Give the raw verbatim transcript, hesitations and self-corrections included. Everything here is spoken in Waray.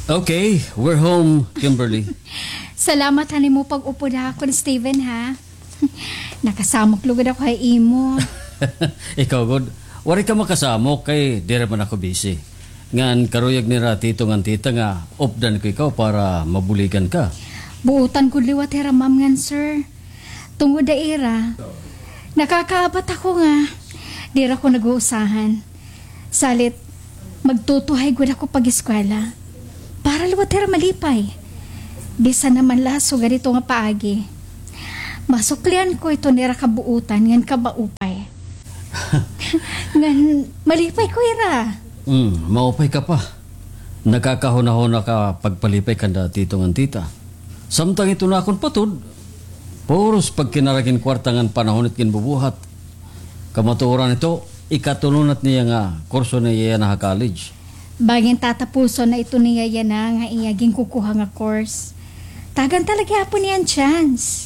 Okay, we're home, Kimberly. Salamat han imo pag-upod ha akon, Steven, ha? Nakasamok lugod ako ha imo. Ikaw gud, waray ka makasamok kay diri man ako busy. Ngan karuyag nira tito ngan tita nga updan ko ikaw para mabuligan ka. Buotan gud liwat hira ma'am ngan sir. Tungod ha ira, nakakaabat ako nga diri ako nag-uusahan. Salit, magtutuhay gud ako pag-eskwela. Para liwat hira malipay. Bisan naman la sugad ito nga paagi. Masuklian ko ito nira kabuotan ngan kamaupay. Ngan malipay ko ira. Hmm, maupay ka pa. Nakakahunahuna ka pagpalipay kanda tito ngan tita. Samtang ito na akon patud, puros pagkinarag hin kwarta ngan panahon it ginbubuhat. Kamatuoran ito, ikatulo na it niya nga kurso niya yana ha college. Bangin tatapuson na ito niya yana nga iya ginkukuha nga course. Tagan ta la gihapon niya an chance.